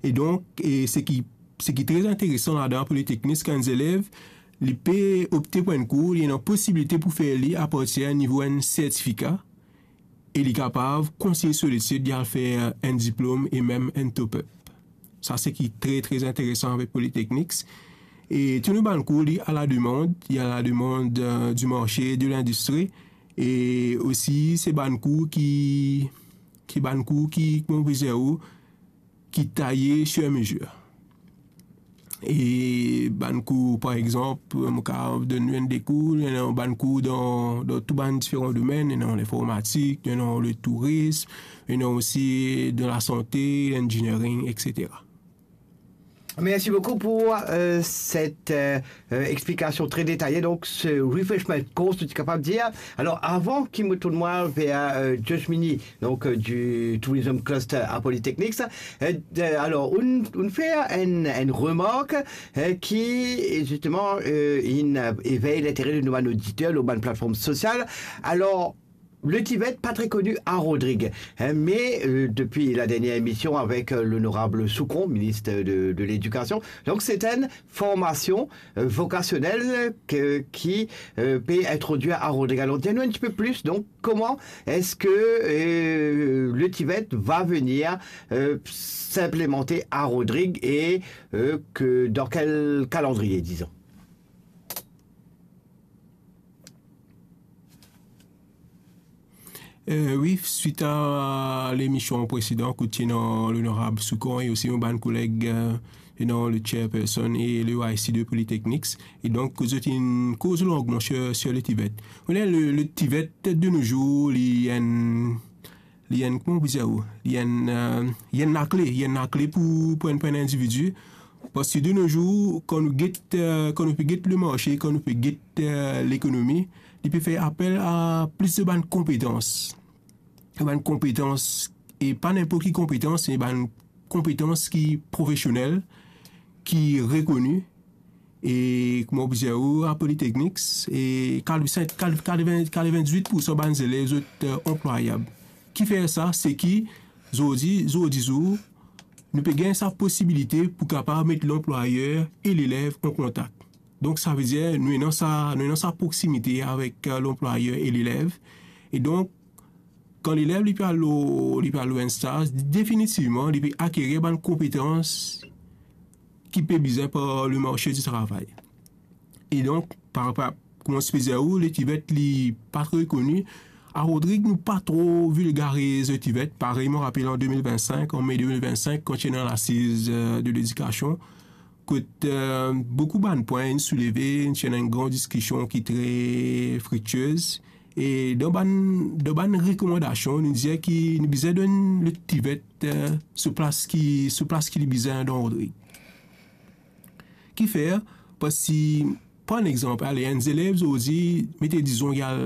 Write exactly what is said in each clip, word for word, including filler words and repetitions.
E donk, e seki, seki tre interesan ladan Polytechnics, kan enn zelev, li pe opte pou enn kour, li ena posibilite pou fer li apartir nivo enn sertifika, e li kapav kontign so letid, li al fer enn diplom e mem enn top-up. Sa seki tre, tre interesan avek Polytechnics. E tou nou bann kour, li a la demande, li a la demande, euh, du marché, de l'industrie. E osi, se bann kour ki, ki bann kour ki, kouma mo pe dir ou, ki taye sur mesure. E bann kour, par exanp, mo kapav donn nou enn de kour, ena bann kour dan, dan tou bann diferan domenn, ena linformatik, ena le tourism, ena osi dan lasante, l'engineering, et cetera. Merci beaucoup pour euh, cette euh, euh, explication très détaillée. Donc, ce refreshment course, tu es capable de dire. Alors, avant qu'il me tourne moi vers euh, Josh Mini, donc euh, du Tourism Cluster à Polytechnics, euh, euh, alors, on, on fait une, une remarque euh, qui, justement, euh, il éveille l'intérêt de nos auditeurs, nos bonnes plateformes sociales. Alors, le Tivet, pas très connu à Rodrigue, hein, mais euh, depuis la dernière émission avec euh, l'honorable Soucon, ministre de, de l'Éducation, donc c'est une formation euh, vocationnelle que, qui euh, peut introduire à Rodrigue. Alors, dis-nous un petit peu plus, donc, comment est-ce que euh, le Tivet va venir euh, s'implémenter à Rodrigue et euh, que, dans quel calendrier, disons ? Euh, wi, swit a lemision presedan kot ti ena Lonorab Soucon e osi mo bann koleg, euh, ena le chairperson e le Y C de Polytechnics. E donk, kot zot inn koz longman sur, sur le Tivet. Ou konnen, le, le Tivet de nos jours, li enn, li enn, kouma ou pe dir ou, li enn, euh, li enn lakle, li enn lakle pou, pou enn, pou enn individi. Parski de nos jours, kan nou get, euh, kan nou pe get le marché, kan nou pe get euh, lekonomi, li pe fer apel a plis de bann konpetans. Bann konpetans, e pa ninport ki konpetans, me bann konpetans ki profesionel, ki rekoni, e kouma ou pe dir ou, a Polytechnics, e katrevin, katrevin, katrevin-diwit poursan bann zelev zot euh, anplwayab. Ki fer sa, seki zordi, zordi zour, nou pe gagn sa posibilite pou kapav met lanplwayer e lelev an kontak. Donk, savedir, nou ena sa, nou ena sa proksimite avek euh, lanplwayer e lelev. E donk, kan lelev li pe al lor, li pe al lor enn staz, definitivman, li pe akerir bann konpetans ki pe bizin par le marché du travail. E donk, par rapor, kouma ti pe dir ou, le Tivet li pa tro koni. A Rodrig, nou pa tro vilgariz le Tivet. Parey, mo rapel an de mil vinn-sink, an me de mil vinn-sink, kan ti ena lasiz euh, de ledikasion, kot euh, boukou bann pwin inn souleve, ti ena enn gran diskision ki tre friktiez. E dan bann, dan bann rekomandasion, nou dir ki nou bizin donn le Tivet euh, so plas ki, so plas ki li bizin dan Rodrig. Kifer? Parski, pran enn exanp, ale, enn zelev zordi, mete dizon, li al,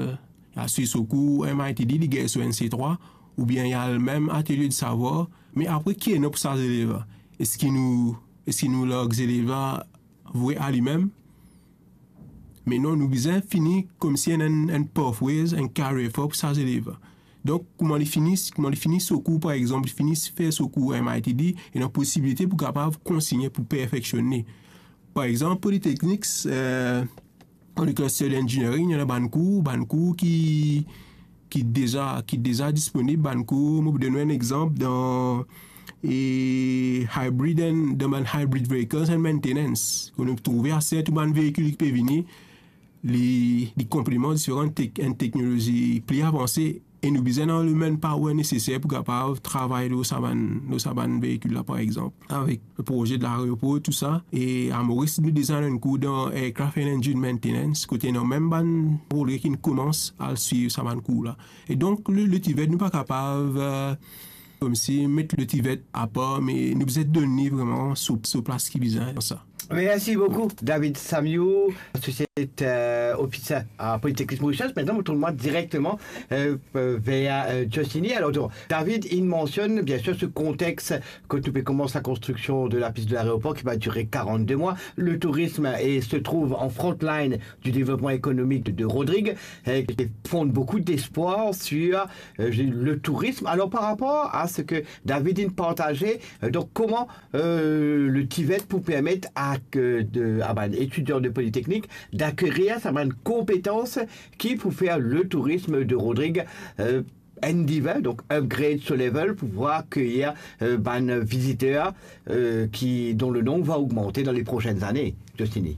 li al swiv so kour M I T D, li gagn so enn C trwa, oubien li al mem Atelier du Savoir, me apre, ki ena pou sa zelev la? Eski nou, eski nou larg zelev la vre a limem? Me non, nou bizin fini koumsi enn, enn, enn pathways, enn career path pou sa zelev la. Donk, kouma li fini, kouma li fini so kour, par exanp, li fini fer so kour M I T D, ena posibilite pou kapav kontigne pou perfeksionn li. Par exanp, Polytechnics, euh, dan le cluster engineering, ena bann kour, bann kour ki, ki deza, ki deza disponib, bann kour, mo pou donn ou enn exanp, dan e hybrid and, dan bann hybrid vehicles and maintenance. Kan nou trouve ase tou bann veikil ki pe vini, li, li konpleman diferan tek-, enn teknolozi pli avanse, e nou bizin ena le manpower neseser pou kapav travay lor sa bann, lor sa bann veikil la, par exanp, avek le proze de laeropor, tou sa. E a Moris, nou deza ena enn kour dan aircraft and engine maintenance, kote ena mem bann Rodrig ki koumans al swiv sa bann kour la. E donk, le, le Tivet, nou pa kapav, euh, koumsi met le Tivet apar, me nou bizin donn li vreman so, so plas ki bizin dan sa. Merci beaucoup, David Samiou, associate, euh, officer à Polytechnique Mauritius. Maintenant, nou tourn direkteman, euh, euh, vers, euh, Josiny. Alors, donc, David, il mentionne bien sûr ce contexte quand nou pe koumans la construction de la piste de l'aéroport qui va durer quarante-deux mois. Le tourisme est, se trouve en front line du développement économique de, de Rodrigues, euh, qui fonde beaucoup d'espoir sur, euh, le tourisme. Alors, par rapport à ce que David in partaze, euh, donc, comment euh, le TVET pou permet a, euh, de, a bann etidian de Polytechnique d'akerir sa bann konpetans ki pou fer le tourisme de Rodrigues, euh, enn diven, donk upgrade so level pou pouvoir akerir, euh, bann viziter, euh, qui, dont le nombre va augmenter dans les prochaines années, Josiny.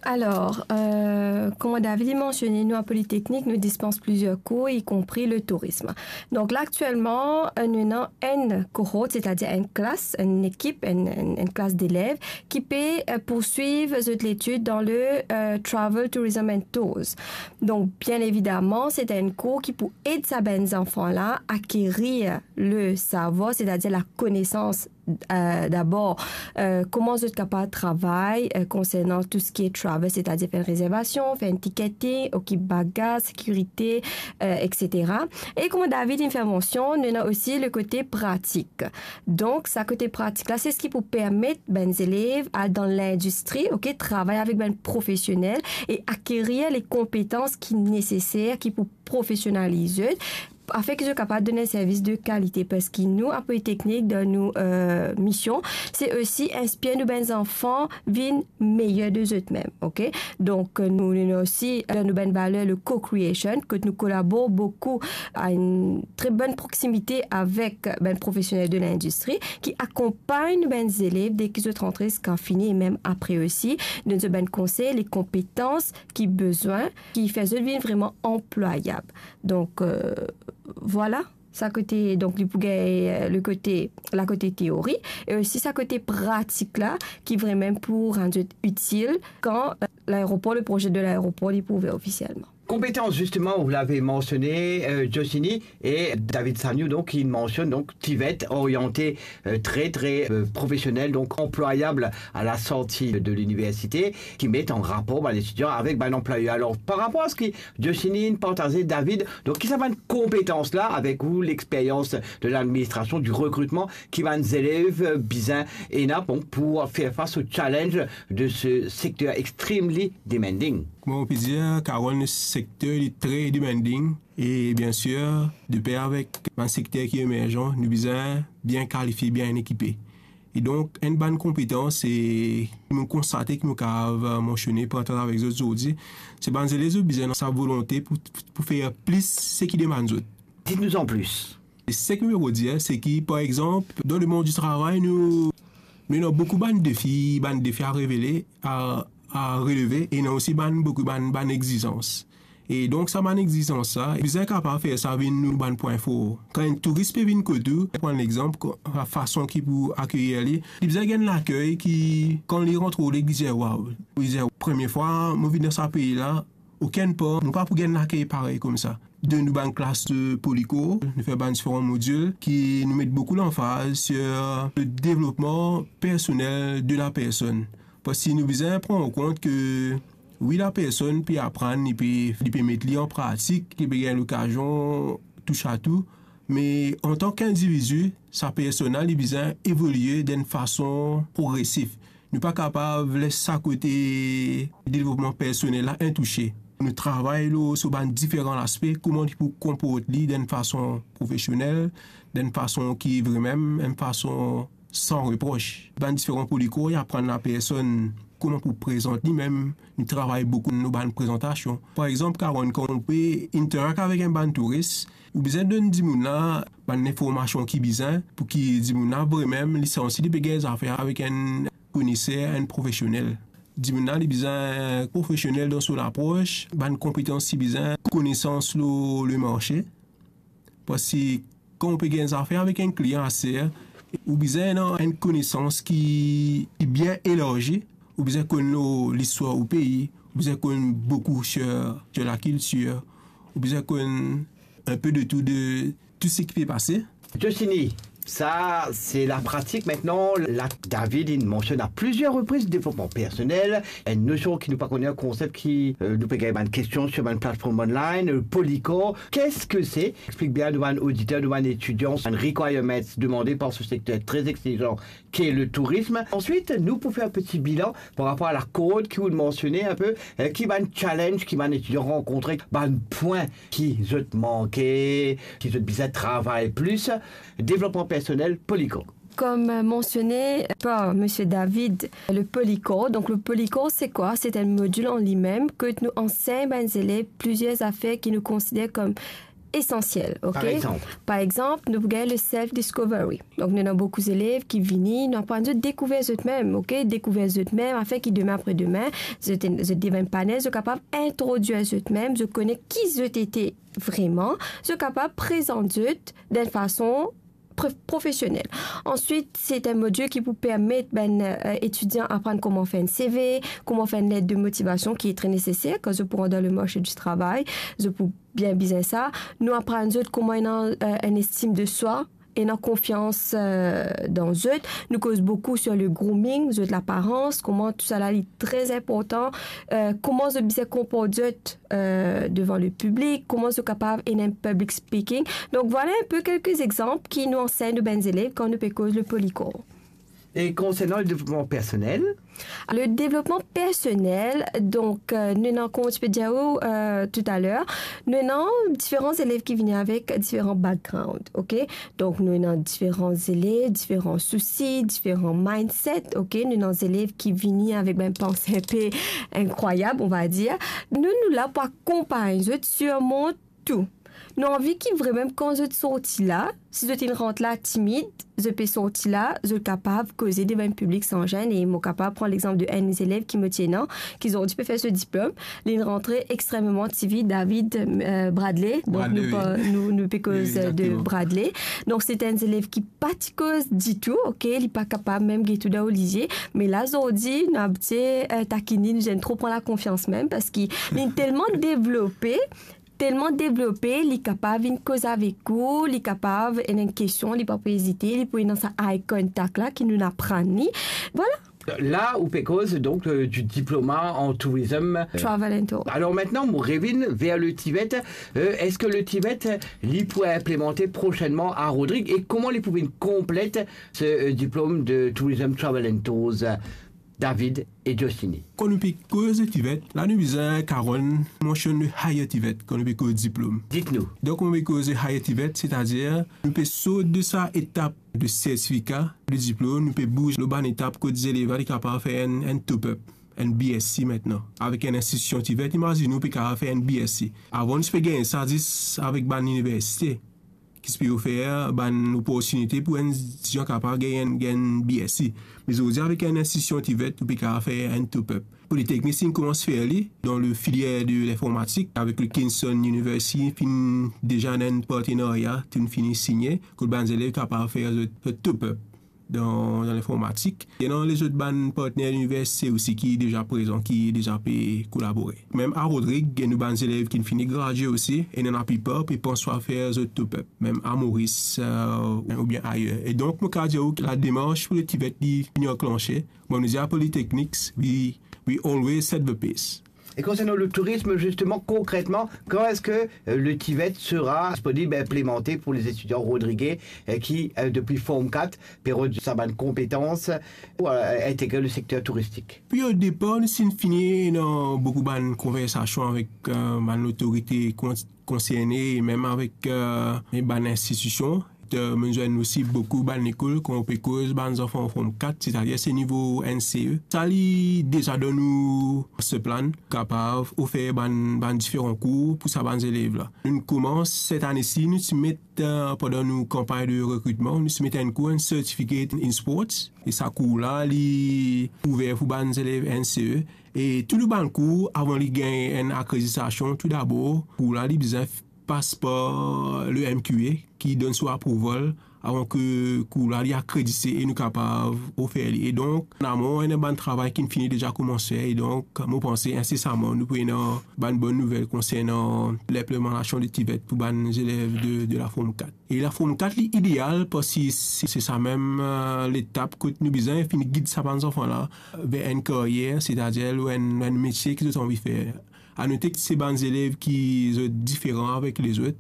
Alor, euh, kouma David inn mansione, nou a Polytechnique, nou dispans plizier kour, y compris le tourisme. Donk la, aktielman, euh, nou ena enn cohort, setadir enn klas, enn ekip, enn, enn, enn klas delev ki pe, euh, poursuiv zot letid dan le, euh, Travel, Tourism and Tours. Donk, bien evidaman, se enn kour ki pou ed sa bann zanfan la akerir le savwar, setadir la konesans, euh, dabor, euh, kouma zot kapav travay, euh, konsernan tou seki travel, setadir fer enn rezervasion, fer enn ticketing, okip bagaz, sekirite, euh, et cetera. E kouma David inn fer mansion, nou ena osi le kote pratik. Donk, sa kote pratik la, se seki pou permet bann zelev al dan lindistri, ok, travay avek bann profesionel e akerir le konpetans ki neseser, ki pou profesionaliz zot, afin ki zot kapav donn enn servis de kalite, parski nou, a Polytechnique, dan nou, euh, mision, se osi inspir nou bann zanfan vinn meyer de zot mem, ok? Donk, euh, nou, nou, nou osi, dan nou bann valer, le co-creation, kot nou kolabor boukou, a enn tre bonn proximité avek bann profesionel de lindistri ki akonpagn bann zelev deki zot rantre ziska fini e mem apre osi, donn zot bann konsey, le konpetans ki bizin, ki fer zot vinn vreman anplwayab. Donk, euh, vwala, sa kote, donk, li pou gagn, euh, le kote, la kote teori, e osi sa kote pratik la, ki vreman pou rann zot itil kan, euh, laeropor, le proze de laeropor, li pou ouver ofisielman. Konpetans, zisteman, ou lav mansione, euh, Josiny, e David Samiou, donk, ki mansionn, donk, TVET, orienté, euh, très, très, euh, professionnel, donc employable à la sortie de l'université, ki met an rapor bann etidian avek bann anplwayer. Alor, par rapor a seki Josiny inn partaze, David, donk, ki sa bann konpetans la, avek ou, lexperyans de ladministrasion, du rekritman, ki bann zelev, euh, bizin ena, donk, pou fer fas o challenge de se sekter extremely demanding? Kouma ou pe dir, Carole, nou sekter, li tre demanding. E bien sir, de per avek bann sekter ki emerzan, nou bizin bien kalifie, bien ekipe. E donk, enn bann konpetans, e nou konstate ki nou kapav mansione, partaze avek zot zordi, se bann zelev, zot bizin sa volonte pou, pou fer plis seki demann zot. Dites-nous en plus. E seki mo pou dir, se ki, par exanp, dan lemond di travay, nou, nou ena boukou bann defi, bann defi a revele, a, a releve, e ena osi bann, boukou bann, bann exizans. E donk, sa bann exizans sa, bizin kapav fer sa vinn nou bann pwin for. Kan enn touris pe vinn kot ou, pran lexanp, ko-, fason ki pou akeyir li, li bizin gagn lakey ki, kan li rant Rodrig, li dir, "Waw," li dir, "Premie fwa mo vinn dan sa pei la, okenn par, nou pa pou gagn lakey parey koumsa." Donn nou bann klas de Polycore, nou fer bann diferan modil ki nou met boukou lanfaz sur le développement personnel de la personne. Parski nou bizin pran an kont ke, wi, lapersonn pe aprann, li pe, li pe met li an pratik, li pe gagn lokazion touch a tou, me antan ki individi, sa persona, li bizin evolie dan enn fason progresif. Nou pa kapav les sa kote devlopman personel la intouse. Nou travay lor so bann diferan laspe, kouma li pou konport li dan enn fason profesionel, dan enn fason ki vremem, enn fason san repros. Bann diferan Polycore, li aprann lapersonn kouma pou prezant limem. Nou travay boukou lor bann prezantasion. Par exanp, Carole, kan ou pe interact avek enn bann touris, ou bizin donn dimoun la bann linformasion ki bizin pou ki dimoun la vremem li santi li pe gagn zafer avek enn koneser, enn profesionel. Dimoun la, li bizin profesionel dan so lapros, bann konpetans li bizin, konesans lor lemarse. Parski kan ou pe gagn zafer avek enn klian aster, ou bizin ena enn konesans ki, ki bien elarzi, ou bizin konn lor listwar ou pei, ou bizin konn boukou sur, sur lakiltir, ou bizin konn enpe de tou de tou seki pe pase. Josiny, Sa, se lapratik. Aster la, David, inn mansionn a plizier repriz devlopman personel, enn nosion ki nou pa kone, enn konsep ki, euh, nou pe gagn bann kestion sir bann platform online, euh, Polycore. Qu'est-ce que c'est? Explik bien nou bann oditer, nou bann etidian, bann requirements demande par ce secteur très exigeant qu'est le tourisme. Ensuite, nou pou fer enn peti bilan par rapor a la kord ki ou mansione enpe, euh, ki bann challenge ki bann etidian rankontre, bann pwin ki zot manke, ki zot bizin travay plis, devlopman personel, Polycore. Comme, euh, mentionné par Monsieur David, le Polycore. Donc, le Polycore, c'est quoi? C'est un module en lui-même que nous enseignons ben, les élèves plusieurs affaires qui nous considèrent comme essentielles, ok? Par exemple? Par exemple, nou pou gagn le self-discovery. Donk, nou ena boukou zelev ki vini, nou aprann zot dekouver zot mem, ok? Dekouver zot mem, afin ki demin apre demin, zot, zot devenn panel, zot kapav introdwir zot mem, zot kone ki zot ete vreman, zot kapav prezant zot dan enn fason prof-, profesionel. Answit, se enn modil ki pou permet bann, euh, etidian aprann kouma fer enn C V, kouma fer enn let de motivation ki tre neseser kan zot pou rant dan le marse di travay, zot pou bien bizin sa. Nou aprann zot kouma ena, euh, enn estim de swa, ena konfians, euh, dan zot. Nou koz boukou sir le grooming, zot laparans, kouma tousala li tre inportan, euh, kouma zot bizin konport zot, euh, devan le piblik, kouma zot kapav ena enn public speaking. Donk, vwala enn pe kelke exanp ki nou ansegn nou bann zelev kan nou pe koz le Polycore. E konsernan le devlopman personel? Le devlopman personel, donk, euh, nou ena, kouma ti pe dir ou, euh, toutaler, nou ena diferan zelev ki vini avek diferan background, ok? Donk, nou ena diferan zelev, diferan sousi, diferan mindset, ok? Nou ena zelev ki vini avek bann panse enn pe inkrwayab, on va dire. Nou, nou la pou akonpagn zot sirmont tou. Nou anvi ki vremem kan zot sorti la, si zot inn rant la timid, zot pe sorti la, zot kapav koze devan enn piblik san zenn. E mo kapav pran lexanp de enn zelev ki mo ti ena, ki zordi pe fer so diplom. Li rantre extrememan timid, David, euh, Bradley. Donk, Bradley, nou wi. Pa, nou, nou pe koz, wi, euh, de, exactement. Bradley. Donk, se enn zelev ki pa ti koz ditou, ok? Li pa kapav mem get ou dan lizie. Me la, zordi, nou abitie, euh, takinn li, nou zenn tro pran lakonfians mem, parski li telman devlope, telman devlope, li kapav vinn koz avek ou, li kapav ena enn kestion, li pa pou ezite, li pou ena sa eye contact la ki nou aprann li. Vwala. La, ou pe koz, donk, euh, du diploma en tourisme. Travel and tour. Alors maintenant, nou revinn ver le TVET. Euh, eski le TVET, li pou inplimante prosenman a Rodrig e kouma li pou vinn konplet se, euh, diplom de Tourism Travel and Tours? David e Jostini. Kan nou pe koz TVET, la nou bizin kapav mansionn le higher TVET, kan nou pe koz diplom. Dit nou. Donk, kan nou pe koz higher TVET, setadir, nou pe sort de sa etap de sertifika, de diplom, nou pe bouz lor bann etap kot zelev la, li kapav fer enn, enn top up, enn BSc aster la. Avek enn institision TVET, imazinn ou pe kapav fer enn BSc. Avan, nou ti pe gagn sa zis avek bann liniversite ki ti pe ofer bann loportinite pou enn etidian kapav gagn, gagn BSc. Me zordi avek enn institision TVET, ou pe kapav fer enn top up. Politeknik inn koumans fer li dan le filier de linformatik avek le Kingston University, finn deza ena enn partenarya, finn fini signe, kot bann zelev kapav fer zot, zot top up dan, dan linformatik. Ena lezot bann partner liniversite osi ki deza prezan, ki deza pe kolabore. Mem a Rodrig, nou bann zelev ki fini gradie osi, e ena laplipar pe pans swa fer zot top up, mem a Moris, euh, oubien ayer. E donk, mo kapav dir ou ki la demars pou le TVET li fini anklanse. Bon, nou dir a Politeknik, we, we always set the pace. E konsernan le tourism, justement, concrètement, quand est-ce que, euh, le TVET sera disponible, implémenté pour les étudiants rodriguais, euh, qui, euh, depuis Form quatre, pe rod sa bann konpetans pou, euh, integre le secteur touristique? Depi o depar, nou ti fini ena boukou bann konversasion avek, euh, bann lotorite kon-, konserne, e mem avek, euh, bann institision. Euh, mo zwenn osi boukou bann lekol, kan ou pe koz bann zanfan Form quatre, setadir se nivo NCE. Sa li deza donn nou master plan, kapav ofer bann, bann diferan kour pou sa bann zelev la. Nou koumans set ane si, nou ti met, euh, pandan nou kanpagn de rekritman, nou ti met enn kour, enn Certificate in Sports. E sa kour la, li ouver pou bann zelev NCE. E tou bann kour, avan li gagn enn akreditasion, tou dabor, kour la, li bizin pas par le MQA, ki donn so approval avan ki kour la li akredite e nou kapav ofer li. E donk, an amon, ena bann travay ki finn fini deza koumans fer, e donk, mo panse insesaman nou pou ena bann bonn nouvel konsernan linplimentasion de TVET pou bann zelev de, de la Form kat. E la Form kat, li ideal, parski se, se sa mem, eh, letap kot nou bizin finn gid sa bann zanfan la ver enn karyer, setadir enn, enn metie ki zot anvi fer. Anote ki se bann zelev ki zot diferan avek lezot,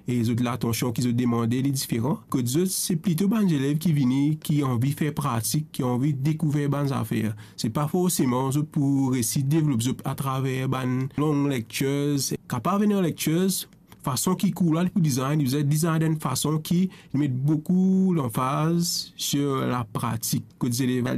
e zot latansion ki zot demande, li diferan. Kot zot, se plito bann zelev ki vini, ki anvi fer pratik, ki anvi dekouver bann zafer. Se pa forseman zot pou resi devlop zot atraver bann long lectures. Kapav ena lectures, fason ki kour la li pou design, li bizin design dan enn fason ki li met boukou lanfaz sir lapratik. Kot zelev la,